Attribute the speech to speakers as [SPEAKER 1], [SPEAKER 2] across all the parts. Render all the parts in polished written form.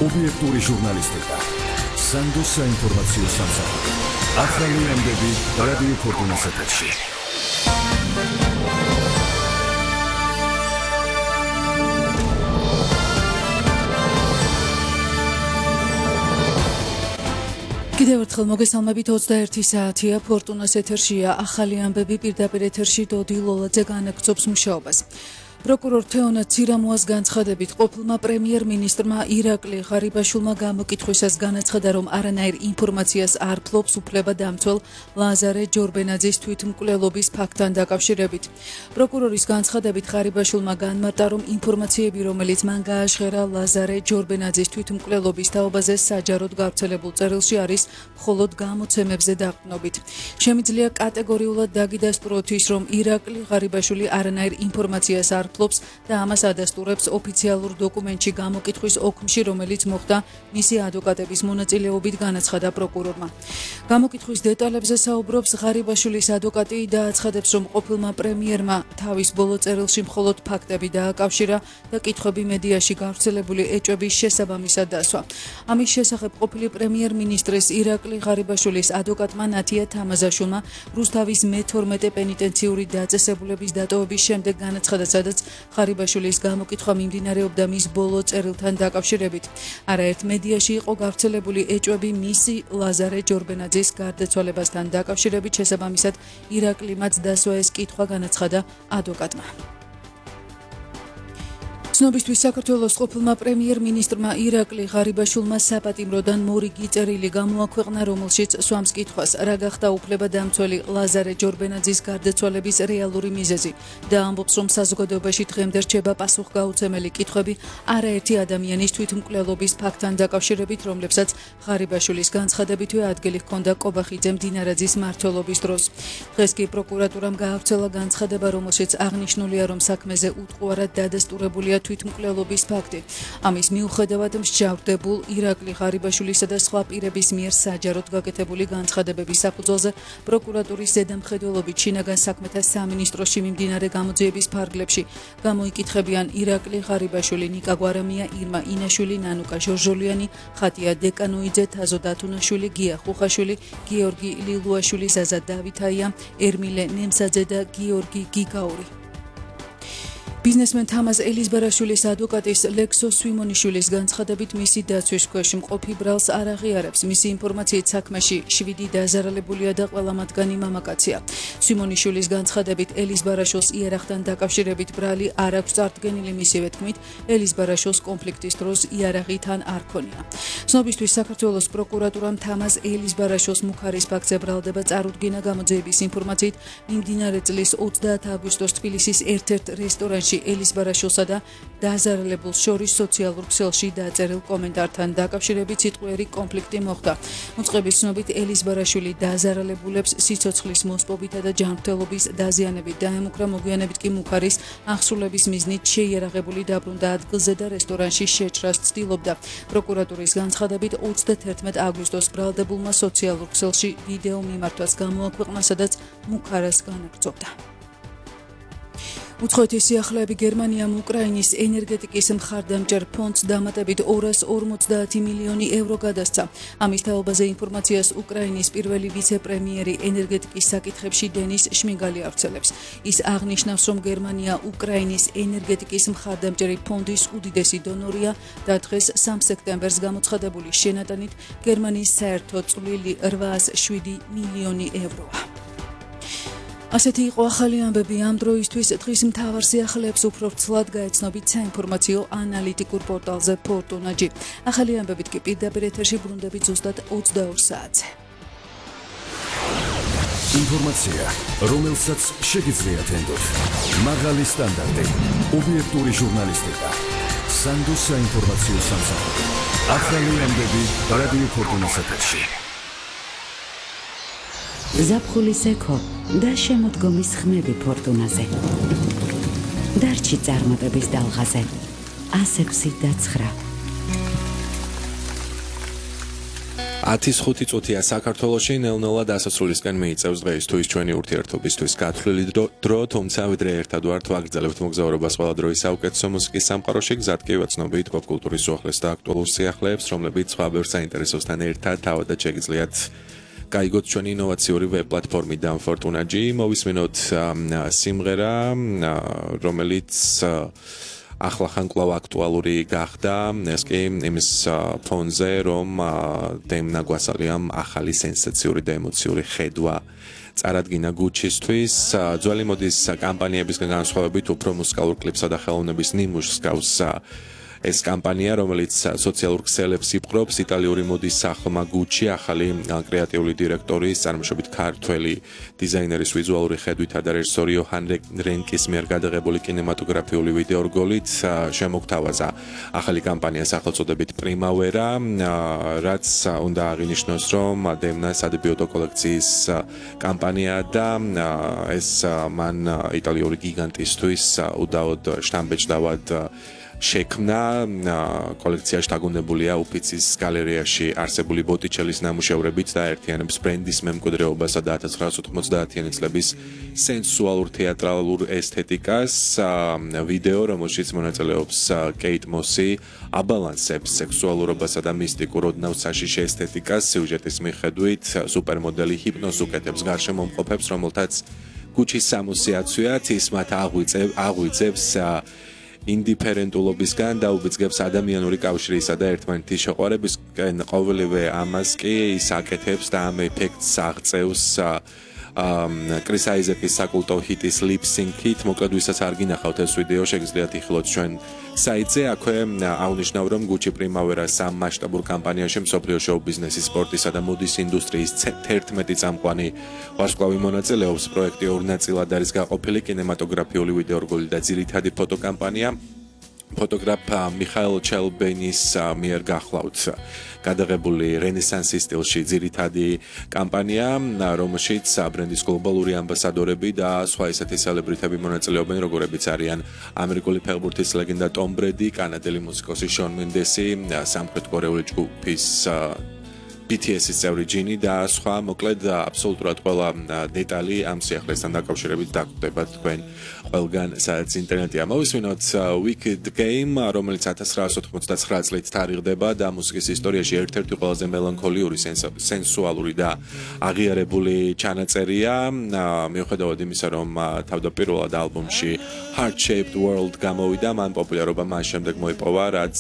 [SPEAKER 1] ობიექტური ჟურნალისტიკა, სანდოს საინფორმაციო სამსახური. ახალი ამბები რადიო ფორტუნას ეთერში.
[SPEAKER 2] კიდევ ერთხელ მოგესალმებით 21 საათია ფორტუნას ეთერშია ახალი ამბები პირდაპირ ეთერში დოდი ლოლაძე განაგრძობს მუშაობას. პროკურორ თეონა ცირამუას განცხადებით ყოფილმა პრემიერ-მინისტრმა ირაკლი ღარიბაშვილმა გამოკითხვისას განაცხადა, რომ არანაირ ინფორმაციას არ ფლობს უფლებადამცველ ლაზარე ჯორბენაძის თვითმკვლელობის ფაქტთან დაკავშირებით. პროკურორის განცხადებით ღარიბაშვილმა განმარტა, რომ ინფორმაციები, რომელიც მან გააჟღერა ლაზარე ჯორბენაძის თვითმკვლელობის თაობაზე საჯაროდ გავრცელებულ წერილში არის მხოლოდ გამოცემებზე დაყრდნობით. შემიძლია კატეგორიულად დაგიდასტუროთ ის, რომ ირაკლი ღარიბაშვილი არანაირ ინფორმაციას არ და ამას ადასტურებს ოფიციალურ დოკუმენტში გამოკითხვის ოქმში, რომელიც მოხდა მისი ადვოკატების მონაწილეობით, განაცხადა პროკურორმა. გამოკითხვის დეტალებზე საუბრობს ღარიბაშვილის ადვოკატი და აცხადებს, რომ ყოფილმა პრემიერმა თავის ბოლო წერილში მხოლოდ ფაქტები დააკავშირა და კითხვები მედიაში გავრცელებული ეჭვების შესაბამისად დასვა. ამის შესახებ ყოფილი პრემიერ-მინისტრის ირაკლი ღარიბაშვილის ადვოკატმა ნათია თამაზაშვილმა რუსთავის მე-12 პენიტენციური დაწესებულების დატოვების შემდეგ განაცხადა, სადაც ღარიბაშვილის გამოკითხვა მიმდინარეობდა მის ბოლო წერილთან დაკავშირებით. არაერთ მედიაში იყო გავრცელებული ეჭვები მისი ლაზარე ჯორბენაძის გარდაცვალებასთან დაკავშირებით, შესაბამისად ირაკლიმაც დასვა ეს კითხვა, განაცხადა ადვოკატმა. ცნობისთვის საქართველოს ყოფილმა პრემიერ-მინისტრმა ირაკლი ღარიბაშვილმა საპატიმროდან მორიგი წერილი გამოაქვეყნა, რომელშიც სვამს კითხვას, რა გახდა უფლებადამცველი ლაზარე ჯორბენაძის გარდაცვალების რეალური მიზეზი და ამბობს, რომ საზოგადოებაში დღემდე რჩება პასუხგაუცემელი კითხვები არაერთი ადამიანის თვითმკვლელობის ფაქტთან დაკავშირებით, რომლებსაც ღარიბაშვილის განცხადებითვე ადგილი ჰქონდა კობახიძე მდინარაძის მმართველობის დროს. დღეს კი პროკურატურამ გაავრცელა განცხადება, რომელშიც აღნიშნულია, რომ საქმეზე უტყუარად დადასტურებულია თვითმკვლელობის ფაქტი. ამის მიუხედავად მსჯავრდებულ ირაკლი ღარიბაშვილისა და სხვა პირების მიერ საჯაროდ გაკეთებული განცხადებების საფუძველზე პროკურატურის ზედამხედველობით შინაგან საქმეთა სამინისტროში მიმდინარე გამოძიების ფარგლებში გამოიკითხებიან ირაკლი ღარიბაშვილი, ნიკა გვარამია, ირმა ინაშვილი, ნანუკა ჟორჟოლიანი, ხატია დეკანოიძე, თაზო დათუნაშვილი, გია ხუხაშვილი, გიორგი ლილუაშვილი, ზაზა დავითაია, ერმილე ნემსაძე და გიორგი გიგაური. ბიზნესმენ თამაზ ელიზბარაშვილის ადვოკატის ლექსო სვიმონიშვილის განცხადებით მისი დაცვის ქვეშ მყოფი ბრალს არ აღიარებს. მისი ინფორმაციით საქმეში 7 დაზარალებულია და ყველა მათგანი მამაკაცია. სვიმონიშვილის განცხადებით ელიზბარაშვილს იარაღთან დაკავშირებით ბრალი არ აქვს წარდგენილი, მისივე თქმით ელიზბარაშვილს კონფლიქტის დროს იარაღი თან არ ქონია. ცნობისთვის საქართველოს პროკურატურამ თამაზ ელიზბარაშვილს მუქარის ფაქტზე ბრალდება წარუდგინა. გამოძიების ინფორმაციით მიმდინარე წლის 30 აგვისტოს თბილისის ერთ-ერთ რესტორანში ელიზბარაშვილსა და დაზარალებულს შორის სოციალურ ქსელში დაწერილ კომენტართან დაკავშირებით სიტყვიერი კონფლიქტი მოხდა. მოწყობის ცნობით ელიზბარაშვილი დაზარალებულებს სიცოცხლის მოსპობითა და ჯანმრთელობის დაზიანებით დაემუქრა, მოგვიანებით კი მუქარის აღსრულების მიზნით შეიარაღებული დაბრუნდა ადგილზე და რესტორანში შეჭრას ცდილობდა. პროკურატურის განცხადებით 31 აგვისტოს ბრალდებულმა სოციალურ ქსელში ვიდეო მიმართვას გამოაქვეყნა, სადაც მუქარას განაგრძობდა. უცხოეთის სიახლეები გერმანიამ უკრაინის ენერგეტიკის მხარდამჭერ ფონდს დამატებით 250 მილიონი ევრო გადასცა. ამის თაობაზე ინფორმაციას უკრაინის პირველი ვიცე-პრემიერი ენერგეტიკის საკითხებში დენის შმიგალი ავრცელებს. ის აღნიშნავს, რომ გერმანია უკრაინის ენერგეტიკის მხარდამჭერი ფონდის უდიდესი დონორია და დღეს 3 სექტემბერს გამოცხადებული შენატანით გერმანიის საერთო წვლილი 807 მილიონი ევროა. ასეთი იყო ახალი ამბები ამ დროისთვის. დღის მთავარ სიახლეებს უფრო ვრცლად გაეცნობით საინფორმაციო ანალიტიკურ პორტალზე ფორტუნა.gi. ახალი ამბებით კი პირდაპირ ეთერში ბრუნდებით ზუსტად 22 საათზე.
[SPEAKER 1] ინფორმაცია, რომელსაც შეგიძლიათ ენდოთ. მაღალი სტანდარტი, ობიექტური ჟურნალისტიკა, სანდოს საინფორმაციო სამსახური. ახალი ამბები რადიო ფორტუნას ეთერში.
[SPEAKER 3] ზაფხულის ეკო და შემოდგომის ხმები ფორტუნაზე. დარჩი წარმატების დალღაზე. 106 და 9.
[SPEAKER 4] 10:05 წუთია საქართველოში ნელ-ნელა დასასრულისკენ მიიწევს დღეისთვის ჩვენი ურთიერთობისთვის გათვლილი დრო, თუმცა ვიდრე ერთად ვართ ვაგრძელებთ მოგზაურობას ყველა დროის საუკეთესო მუსიკის სამყაროში, გზად კი ვაცნობთ პოპკულტურის უახლეს და აქტუალურ სიახლეებს, რომლებიც სხვა ბევრ საინტერესოსთან ერთად თავადაც შეგიძლიათ გაიგოთ ჩვენი ინოვაციური ვებ პლატფორმი დამფორტუნაჯი, მოვისმინოთ სიმღერა, რომელიც ახლახან კვლავ აქტუალური გახდა, ეს კი იმის ფონზე, რომ დემნა გვასალიამ ახალი სენსაციური და ემოციური ხედვა წარადგინა გუჩისთვის. ძველი მოდის კამპანიებისგან განსხვავებით უფრო მუსიკალურ კლიპსა და ხელოვნების ნიმუშს გავს ეს კამპანია, რომელიც სოციალურ ქსელებს იპყრობს, იტალიური მოდის სახლმა გუჩი, ახალი კრეატიული დირექტორის, წარმოშობით ქართველი დიზაინერის ვიზუალური ხედვითა და რეჟისორი იოჰან რენკის მიერ გადაღებული კინემატოგრაფიული ვიდეორგოლით შემოგთავაზა ახალი კამპანია სახელწოდებით პრიმავერა, რაც უნდა აღინიშნოს, რომ დემნას ადებიუტო კოლექციის კამპანია და ეს მან იტალიური გიგანტისთვის უდაოდ შთამბეჭდავად შექმნა. კოლექციაში დაგუნებულია უფიცის გალერეაში არსებული ბოტიჩელის ნამუშევრებით და ერთიანებს ბრენდის მემკვიდრეობასა და 1990-იანი წლების სენსუალურ თეატრალურ ესთეტიკას. ვიდეო, რომელშიც მონაწილეობს კეით მოსი, აბალანსებს სექსუალურობასა და მისტიკურ ოდნავ საშიში ესთეტიკას სიუჟეტის მიხედვით. სუპერმოდელი ჰიპნოზს უკეთებს გარშემომყოფებს, რომელთაც გუჩის სამოსიაცვეა, ის მათ აღვიძებს ინდიფერენტულობისგან და უბიძგებს ადამიანური კავშირისა და ერთმანეთის შეყვარებისკენ. ყოველივე ამას კი ის აკეთებს და ამ ეფექტს აღწევს კრის აიზეკის საკულტო ჰიტის ლიპსინკით. მოკლედ ვისაც არ გინახავთ ეს ვიდეო, შეგიძლიათ იხილოთ ჩვენ საიტზე. აქვე აღნიშნავ, რომ გუჩი პრიმავერა სამ მასშტაბურ კამპანიაში მსოფლიო შოუ ბიზნესის, სპორტისა და მოდის ინდუსტრიის 11 წამყვანი ვარსკვლავი მონაწილეობს. პროექტი ორ ნაწილად არის გაყოფილი, კინემატოგრაფიული ვიდეორგოლი და ძირითადი ფოტოკამპანია. ფოტოგრაფ მიხაილ ჩელბენის მიერ გახლავთ გადაღებული რენესანსის სტილში ძირითადი კამპანია, რომელშიც ბრენდის გლობალური ამბასადორები და სხვა ისეთი სელებრიტები მონაწილეობენ, როგორებიც არიან ამერიკული ფეხბურთის ლეგენდა ტომ ბრედი, კანადელი მუსიკოსი შონ მენდესი, სამხრეთ კორეული ჯგუფის BTS-ის წევრი ჯინი და სხვა. მოკლედ აბსოლუტურად ყველა დეტალი ამ სიახლესთან დაკავშირებით დაგვხვდება თქვენ ყველგან, სადაც ინტერნეტია. მოვისმინოთ Wicked Game, რომელიც 1999 წლით თარიღდება და მუსიკის ისტორიაში ერთ-ერთი ყველაზე მელანქოლიური, სენსუალური და აღიარებული ჩანაწერია. მიუხედავად იმისა, რომ თავდაპირველად ალბომში Heart Shaped World გამოვიდა, მან პოპულარობა მას შემდეგ მოიპოვა, რაც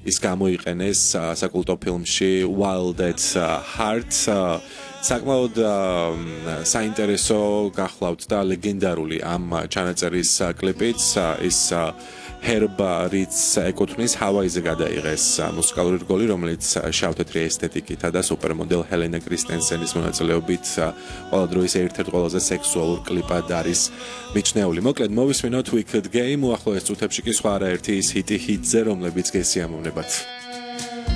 [SPEAKER 4] ის გამოიყენეს საკულტო ფილმში Wild at Heart. საკმაოდ საინტერესო გახლავთ და ლეგენდარული ამ ჩანაწერის კლიპიც. ის ჰერბ რიც ეკუთვნის ჰავაიზე გადაიღეს მუსიკალური რგოლი, რომელიც შავ-თეთრი ესთეტიკითა და სუპერმოდელ ჰელენა კრისტენსენის მონაწილეობით ყველა დროის ერთ-ერთ ყველაზე სექსუალურ კლიპად არის მიჩნეული. მოკლედ მოვისმინოთ Wicked Game, უახლოეს წუთებში კი სხვა არაერთი ის ჰიტზე, რომლებიც გესიამოვნებათ.